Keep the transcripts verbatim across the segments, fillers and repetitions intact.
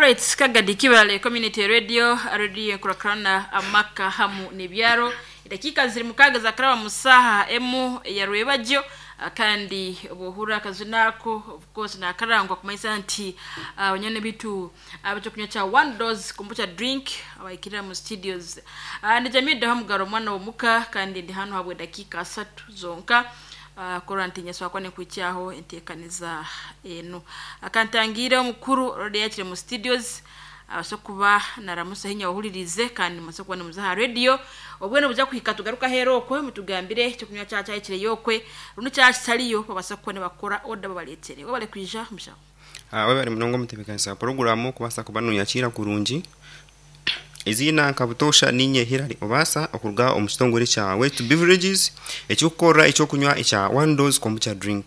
Alright, Kagadi Kibale Community Radio, radio enkurakurana amaka hamu n'ebyaro. Edakiika ziri mukaaga zakaraba mu saaha emu ya rwebagyo. Ah, kandi obuhurra akazina ako, of course, nakarangwa kumanyisa nti abanyana bitu abekyokunywa kya One Dose Kombucha Drink abaikirira mu studios. Ah, ndi Jamii Hamugaro, omwana w'omuka, kandi ndi hano habwe dakiika asatu zonka. Uh, kurora nti nyeswa kwa nikuikyaho enteekaniza enu akantangiire omukuru rodi yakire mu studios, abase kuba naramusa hinya wahulirize, kandi mase kuba nimuza aha radio obwene buja kuhika tugaruka hero okwe mutugambire ekyokunywa kya kyakire yokwe rundi kyakitaliyo, babase kuba nibakora oda babaletere wabale kwija mushaho. Ah, webale munonga omutebeekanisa wa poroguramu kubaasa kuba noyakira kurungi. Eziina nka butoosha ninye Hilary Obaasa okuruga omu kitongore kya Wet Beverages ekirikukorera ekyokunywa ekya One Dose Kombucha Drink.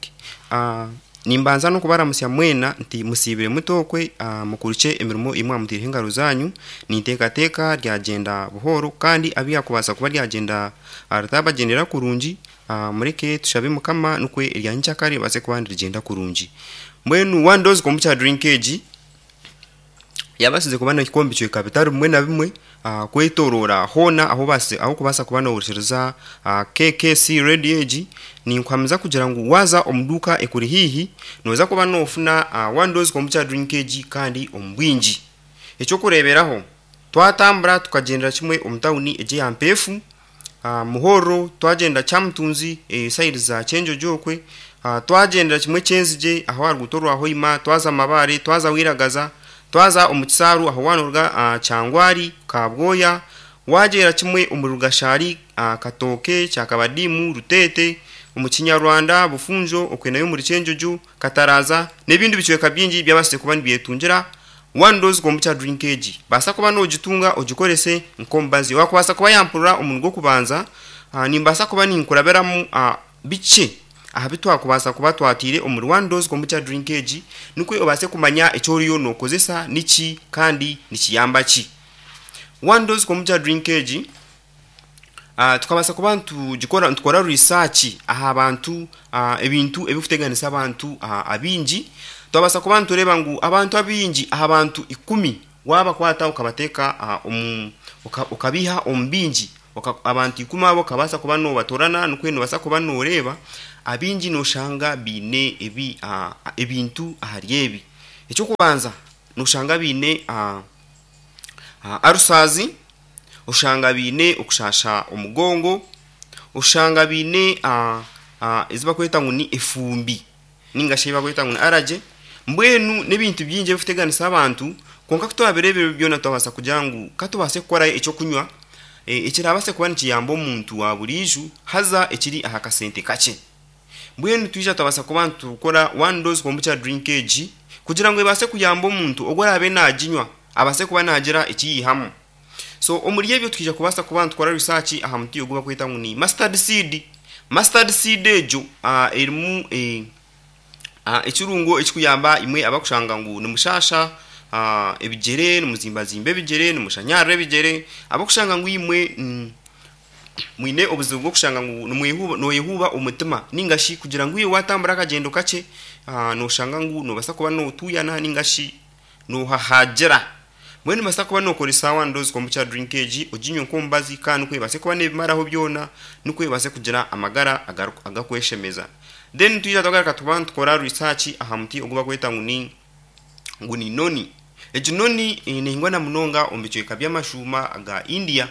Ah, nimbanza n'okubaramusya mwena nti musiibire mutokwe, ah, mukurukye emirimo imwe amutiireho engaro zanyu. Ninteekateeka ryagyenda buhooro, kandi abu yakubaasa kuba ryagyenda ah, ritabagyendera kurungi, ah, mureke tushabe Mukama nikwe erya nyenkyakare ribaase kuba nirigyenda kurungi. Mbwenu One Dose Kombucha Drink egi yabaasize kuba nehika omu bicweka bitari bimwe na bimwe, ah, kwetoroora hoona ahu obaasize ahu okubaasa kuba nohurikiriza ah, K K C Radio egi. Ninkuhamiza kugira ngu waaza omu duuka ekuri haihi, nooza kuba noofuna ah, One Dose Kombucha Drink egi kandi omu bwingi. Ekyokureeberaho, twatambura tukagyendera kimwe omu tawuni egi eya Mpeefu, ah, Muhorro, twagyenda Kyamutunzi, e, sayidi za Kyenjojo okwe, ah, twagyendera kimwe Kyenzigye aho aha ruguuto rwa Hoima, twaza Mabare, twaza Wiragaza, twaza omu Kisaaru aho waanoruga ah, Kyangwari, Kabwoya, wagyera kimwe omu Rugashari, ah, Katooke, Kyakabadimu, Ruteete, omu Kinyarwanda, Bufunjo, okwe nayo omuri Kyenjojo, Kataraza n'ebindi bicweka bingi byabaasize kuba nibyetungira One Dose Kombucha Drink egi. Baasa kuba nogitunga ogikorese nk'omubazi. Wakubaasa kuba yampurira omurundi gw'okubanza, ah, nimbaasa kuba ninkurabiramu ah, bikye aha bi twakubaasa kuba twatiire omuri One Dose Kombucha Drink egi, nikwe obaase kumanya eki oriyo nookozesa niki kandi nikiyamba ki. One Dose Kombucha Drink egi uh, tukabaasa kuba nitugikora, nitukora research aha bantu, uh, ebintu ebikuteganisa abantu uh, abingi. Twabaasa kuba nitureeba ngu abantu abingi, aha bantu ikumi wabakwata ukabateeka uh, omu uka- ukabiha omu bingi, Oka- abantu ikumi abo okabaasa kuba nobatorana, nikwe nobaasa kuba noreeba abingi noshanga biine ebi uh, ebintu ahari ebi. Ekyokubanza, noshanga biine uh, uh, ulcers, oshanga biine okushasha omugongo, oshanga biine uh, uh, ezi bakweta ngu ni efumbi ninga shi bakweta ngu ni allergy. Mbwenu n'ebintu bingi ebikuteganisa abantu, kwonka kutwabireeba ebyo byona, twabaasa kugira ngu katubaase kukora ekyokunywa e, ekirabaase kuba nikiyamba omuntu wa buriijo, haza ekiri aha kasente kakye. Mbwenu twija twabaasa kuba nitukora One Dose Kombucha Drink egi kugira ngu ebaase kuyamba omuntu ogwo araabe naginywa, abaase kuba nagira ekiyihamu. So omuri ebyo twija kubaasa kuba nitukora research aha muti ogu bakweta ngu ni mustard seed. Mustard seed egyo uh, erimu eh, uh, ekirungo ekikuyamba imwe abakushanga ngu nimushasha uh, ebigyere, nimuzimbazimba ebigyere, nimushanyarira ebigyere, abakushanga ngu imwe mm, mwine obuzibu bw'okushanga ngu nimwehuba, noyehuba omutima, ninga shi kugira ngu iwe watambura akagyendo kakye, uh, noshanga ngu nobaasa kuba notuyana ninga shi nohahagira. Mbwenu nobaasa kuba nokoresa One Dose Kombucha Drink egi, oginywe nk'omubazi, kandi nikwo ebaase kuba nebimaraho byona, nikwo ebaase kugira amagara agaru- agakweshemeza. Then twija twagaruka tuba nitukora research aha muti ogu bakweta ngu ni ngu ni noni. Egi noni eh, nehingwa na munonga omu bicweka by'amashuuma aga India.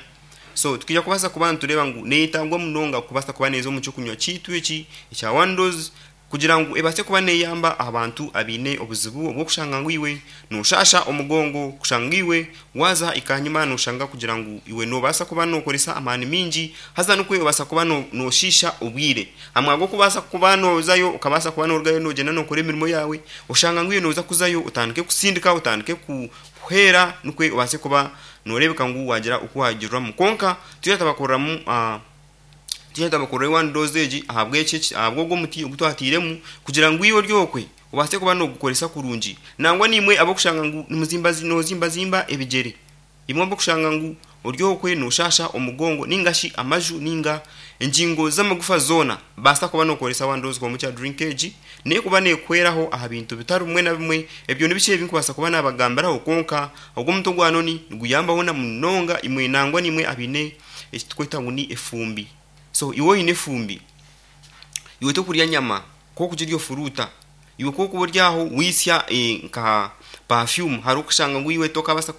So tukija kubaasa kuba nitureeba ngu neyetangwa munonga kubaasa kuba neeza omu kyokunywa kiitu eki ekya One Dose, kugira ngu ebaase kuba neyamba abantu abaine obuzibu obw'okushanga ngu iwe noshasha omugongo, kushanga iwe waza ikanyuma noshanga kugira ngu iwe nobaasa kuba nokoresa amaani mingi, haza nikwe obaasa kuba no- noshiisha obwire hamwe gw'okubaasa kuba nozayo, okabaasa kuba norugayo nogyenda nokora emirimo yawe, oshanga ngu iwe noza kuzayo otandike kusindika, otandike ku- kuhera, nikwe obaase kuba noreebeka ngu wagira oku wagiriramu. Konka twija tabakoreramu uh, twija tabakorera One Dose egi ahabw'eki, ahabw'ogwo omuti ogu twatiiremu, kugira ngu iwe oryokwe obaase kuba nogukoresa kurungi. Nangwa nimwe abokushanga ngu nimuzimba, nozimbazimba ebigyere, imwe abokushanga ngu Oryokwe noshasha omugongo ningashi amaju ninga enjingo z'amagufa zoona, basa kuba nokoresa one dose kombucha drink egi nekuba nekweraho aha bintu bitari bimwe na bimwe. Ebyo nibiki ebinkubasa kuba nabagambiraho, konka ogwo omuti ogwa noni niguyambaho na munonga imwe nangwa nimwe abine ekitukweta ngu ni efumbi. So iwe oyine efumbi, iwe tokurya nyama kokugirya ofuruta, iwe kokuba oryaho wisya eh, nka perfume, hari okushanga ngu iwe tokabasa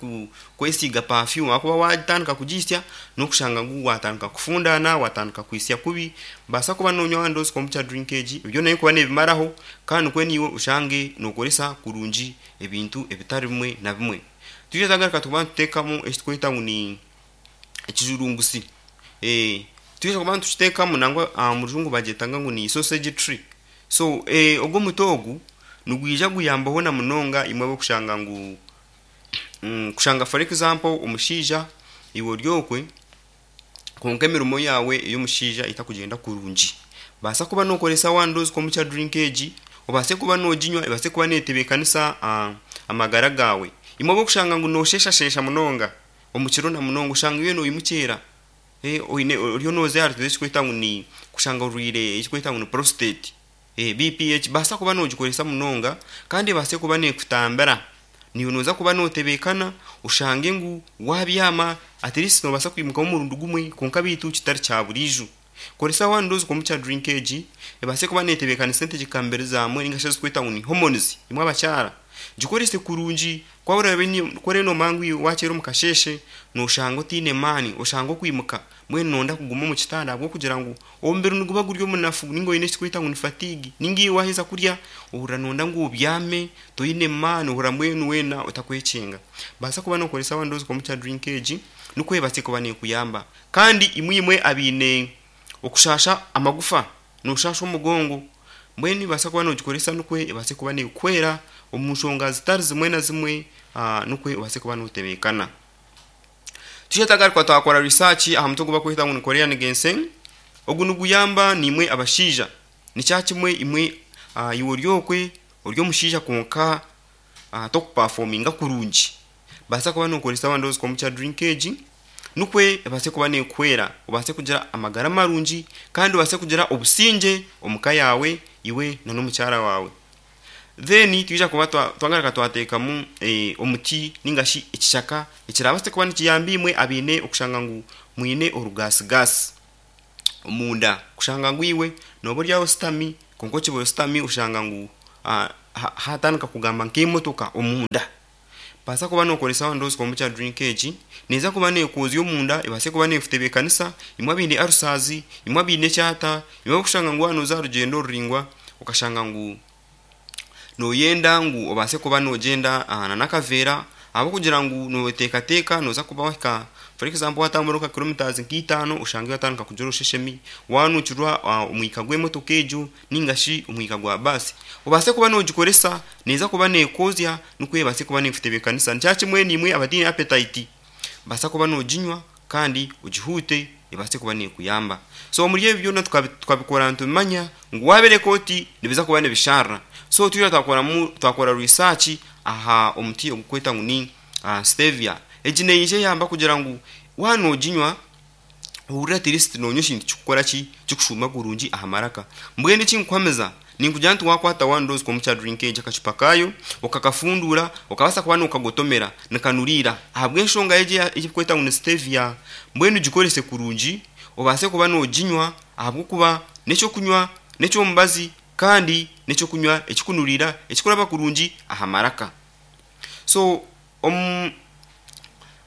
kwesiga perfume ahakuba watandika kugisya n'okushanga ngu watandika kufundana, watandika kwisya kubi. Basa kuba nonywa one dose kombucha drink egi, ebyo nayo kuba nebimaraho, kandi kwe niwe oshange nokoresa kurungi ebintu ebitari bimwe na bimwe. Tuje tagaruka tukuba nituteekamu ekitukweta ngu ni ekijurungusi. eh tuje kuba nitukiteekamu nangwa uh, mu rujungu bagyetanga ngu ni sausage tree. So eh, ogwo omuti ogu nigwija guyambaho na munonga imwe abokushanga ngu mm, kushanga for example omushaija iwe oryokwe konka emirimo yawe ey'omushaija etakugyenda kurungi, basa kuba nokoresa one dose kombucha drink egi, obase kuba noginywa, ebase kuba netebeekanisa uh, amagara gawe. Imwe abokushanga ngu nosheshashesha munonga omukiro na munonga, oshanga iwe noyimukyera eh, oine oriyo noza ahari ekikweta ngu ni kushanga orwire ekikweta ngu ni prostate, eh, B P H, basa kuba nogikoresa munonga kandi ebase kuba nekutambira. Niwe noza kuba notebekana oshange ngu wabyama at least nobasa kwimuka omurundi gumwe, konka bitu kitari kya burijo. Koresa one dose kombucha drink egi ebase kuba netebekanisa entegekambere zamwe ninga shi ezikweta ngu ni hormones. Imwe abakyara gikorese kurungi, kwaba eno mangu wakyera omu kasheshe noshanga otiine maani, oshanga okwimuka mbwenu nonda kuguma omu kitanda ahabw'okugira ngu omubiri niguba guri omunafu, ninga oyine ekikweta ngu ni fatigue, ninga iwe waheza kurya ohurira nonda ngu obyame toyine maani, ohurira mbwenu weena otakwekyenga. Basa kuba nokoresa one dose kombucha drink egi nikwo ebase kuba nekuyamba. Kandi imwe imwe abiine okushasha amagufa, noshasha omugongo, mbwenu ibasa kuba nogikoresa nikwo ebase kuba nekwera omu nshonga zitari zimwe na zimwe, uh, nikwo obase kuba notebekana. Tujye twakora research aha muti ogu bakweta ngu ni Korean ginseng. Ogu niguyamba nimwe abashaija, nikyakimwe imwe uh, iwe oryokwe ori omushaija konka uh, tokuperforminga kurungi, basa kuba nokoresa one dose kombucha drink egi nikwo ebase kuba nekwera, obase kugira amagara marungi kandi obase kugira obusingye omuka yawe iwe na n'omukyara wawe. Then twija kuba twagaruka twateekamu eh, omuti ningashi ekishaka ekirabase kuba nikiyamba imwe abiine okushanga ngu mwine orugasigasi omunda, kushanga ngu iwe noba oryaho sitami konka okiba sitami oshanga ngu uh, hatandika kugamba nk'emotoka omunda. Basa kuba nokoresa one dose kombucha drink egi neza kuba nekozya omunda, ebase kuba nekutebekanisa imwe abiine arusazi, imwe abiine ekyata, imwe okushanga ngu wanoza rugendo ruringwa okashanga ngu noyenda ngu obase kuba nogyenda uh, nanakaveera ahabw'okugira ngu noteekateeka noza kuba wahika for example watambura nka kilometers nk'itaano oshange watandika kugira orusheshemi, wanukirwa uh, omwika gw'emotoka egyo ningashi omwika gwa basi, obase kuba nogikoresa neza kuba nekozya nikwo ebase kuba nekutebekanisa. Nikyakimwe nimwe abatiine appetite, basa kuba noginywa kandi ogihuute ebase kuba nekuyamba. So omuri ebyo byona tukabikora ntumanya ngu wabereka oti nibiza kuba nibisharra. So tuja twakoramu twakora research aha omuti ogukweta ngu ni uh, stevia. Egi neije yamba kugira ngu wanoginywa ohurira at least nonywa ekintu kikukora ki kikushuma kurungi aha maraka. Mbwenu ekinkuhamiza ninkugira nti wakwata one dose kombucha drink egi akacupa kayo okakafundura okabasa kuba nokagotomera nikanurira ahabw'enshonga egi ekikweta ngu ni stevia. Mbwenu gikorese kurungi obase kuba noginywa ahabw'okuba n'ekyokunywa n'ekyomubazi kandi n'ekyokunywa ekikunurira ekikuraba kurungi aha maraka. So um,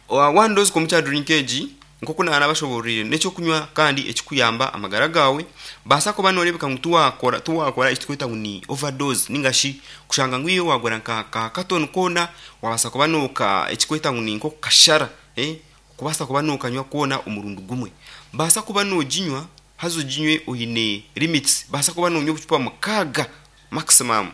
one dose kombucha drink egi nkoku nabashoborire n'ekyokunywa kandi ekikuyamba amagara gawe. Basa kuba norebeka ngu tuwakora tuwakora ekitukweta ngu ni overdose ningashi kushanga ngu iwe wagora nka ka katoni koona wabasa kuba noka ekikweta ngu ni nk'okukashara eh kubasa kuba nokanywa koona omurundi gumwe. Basa kuba noginywa haza oginywe oyine limits, basa kuba nonywa obucupa mukaaga maximum,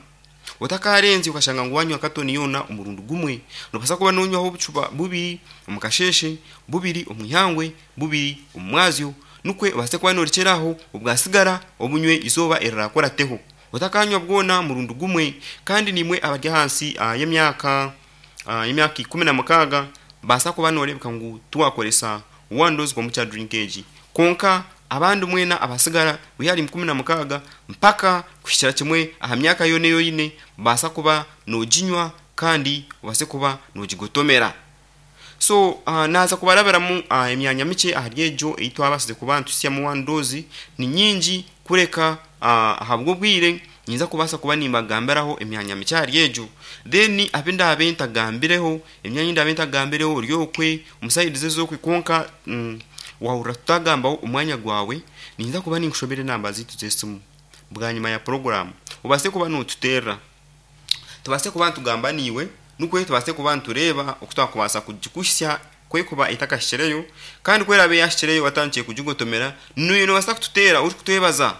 otakarenze ukashanga ngu wanywa katoni yona omurundi gumwe. Nobasa kuba nonywaho obucupa bubiri omukasheshe, bubiri omwihangwe, bubiri omumwazyo, nukwe obase kuba norekyeraho obwasigara obunywe izooba erirakorateho, otakanywa bwona murundi gumwe. Kandi nimwe abari ahansi uh, y'emyaka uh, y'emyaka ikumi na mukaaga Basa kuba norebeka ngu tuwakoresa one dose kombucha drink egi. Konka abandi mwena abasigara wihari mkumi na mukaga mpaka kuhikira kimwe aha myaka yone yoyine, basa kuba noginywa kandi ubase kuba nogigotomera. So uh, naza kubarabiramu uh, emyanya miche ahari egyo ei twabasize kuba ntusyamu one dose ni nyingi kureka uh, ahabw'obwire nyinza kubasa kuba nimbagambiraho emyanya miche ahari egyo. Then abe ndabe ntagambireho emyanya ndabe ntagambireho ori okwe omusaidize z'okwe, konka mm, wahurira tutagambaho omwanya gwawe, ninza kuba ninkushobera enamba zitu z'esimu bwanyima ya poroguramu obase kuba notuterera, tubase kuba ntugamba niiwe, nukwe tubase kuba ntureeba oku twakubasa kugikuhisya kwekuba etakashikireyo. Kandi kwerabe yashikireyo watandikiye kugigotomera, niwe nobasa kututeera orikutwebaza,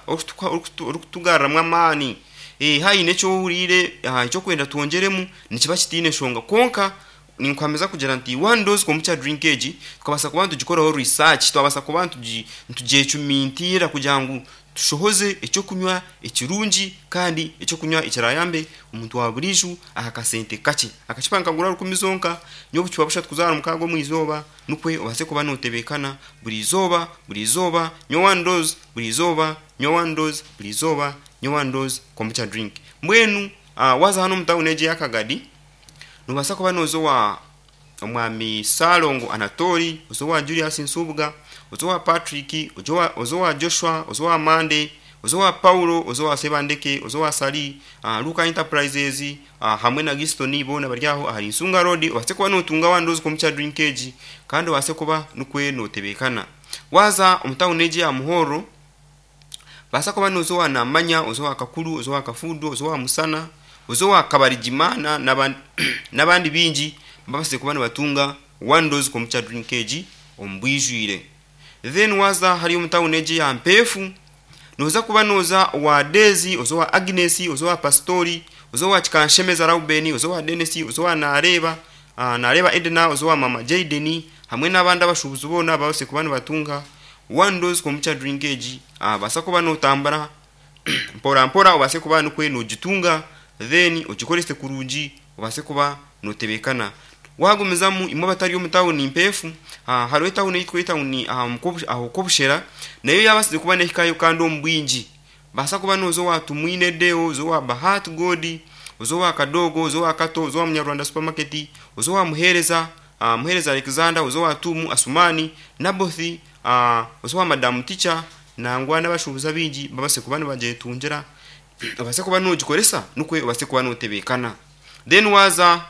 orikutugarramu amaani. Eh, haine ekyohuriire ekyokwenda twongyeremu nikiba kitiine nshonga, konka ninkwameza kugira nti one dose kombucha drink egi tukabasa kuba ntugikoraho research, twabasa kuba ntugyecumintira kugira ngu tushohoze ekyokunywa ekirungi kandi ekyokunywa ekirayambe omuntu wa burijo aha kasente kakye. Akacupa nkagura rukumi zonka, nyowe obucupa bushatu kuzaara mukaaga omu izooba, nukwe obase kuba notebekana buri izooba buri izooba nywa one dose buri izooba, nywa one dose buri izooba, nywa one dose kombucha drink. Mbwenu uh, waza hano omu tawuni egi ey'Akagadi, nobasa kuba noza owa omwami Salongo Anatori, oza owa Julius Nsubuga, oza owa Patrick, oza owa Joshua, oza owa Mande, oza owa Paulo, oza owa Sebandeke, oza owa Sali, uh, Luka Enterprises, uh, hamwe na Gistoni, boona bari aho ahari Nsunga Road. Obase kuba notunga one dose kombucha drink egi kandi obase kuba nukwe notebekana. Waza omu tawuni egi ya Muhoro, basa kuba noza owa Namanya, oza owa Kakuru, oza owa Kafundo, oza owa Musana, oza owa Kabarigimana n'abandi bingi babase kuba nibatunga one dose kombucha drink egi omu bwijwire. Then waza hari omu tawuni egi ya Mpeefu, noza kuba noza owa Dezi, oza owa Agnes, oza owa Pastori, oza owa Kikanshemeza Rauben, oza owa Dennis, oza owa Nareeba, uh, Nareeba Edna, oza owa Mama Jaden hamwe n'abandi abashubuzi boona babase kuba nibatunga one dose kombucha drink egi. uh, basa kuba notambura mpora mpora obase kuba nukwe nogitunga, then ogikorese kurungi obase kuba notebekana. Wagumizamu imwe abatari omu tawuni Mpeefu, uh, hariho etawuni eyitwa etawuni aho Kobushera, nayo yabasize kuba nehikayo kandi omu bwingi. Basa kuba noza owa Tumwine Deo, oza owa Bahat God, oza owa Kadogo, oza owa Kato, oza owa Munyarwanda Supermarket, oza owa Muhereza, uh, Muhereza Alexander, oza owa Tumu Asumani, Nabothi, uh, oza owa Madam Teacher, nangwa n'abashubuzi abingi babase kuba nibagyetungira, obase kuba nogikoresa nukwe obase kuba notebekana. Then waza